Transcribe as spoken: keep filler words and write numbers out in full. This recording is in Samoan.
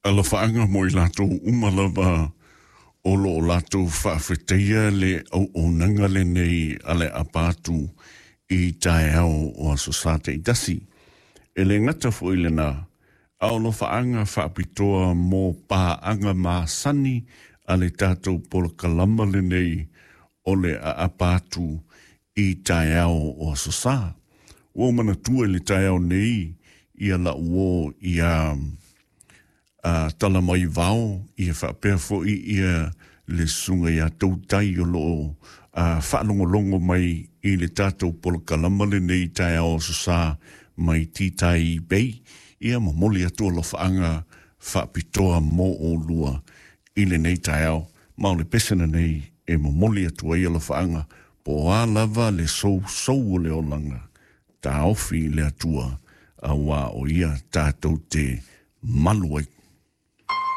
Alofaaga mo i latou uma lava o loo latou faafetaia le auaunaga lenei a le aapa atu i taeao o Aso Sa taitasi. E le gata foi lena, a o alofaaga faapitoa mo paaga masani a le tatou polokalama lenei o le aapa atu i taeao o Aso Sa. Ua ou manatua i le taeao nei ia lau uō ia uh, tala mai vao ia faapea foi ia le susuga ia Tautai o loo uh, faalogologo mai i le tatou polokalama lenei taeao Aso Sa mai Titai Bay. Ia momoli atu alofaaga faapitoa mo olua i lenei taeao, ma o le pese lenei e momoli atu ai alofaaga po o a lava le sousou o le olaga taofi i le Atua auā o ia tatou te malu ai.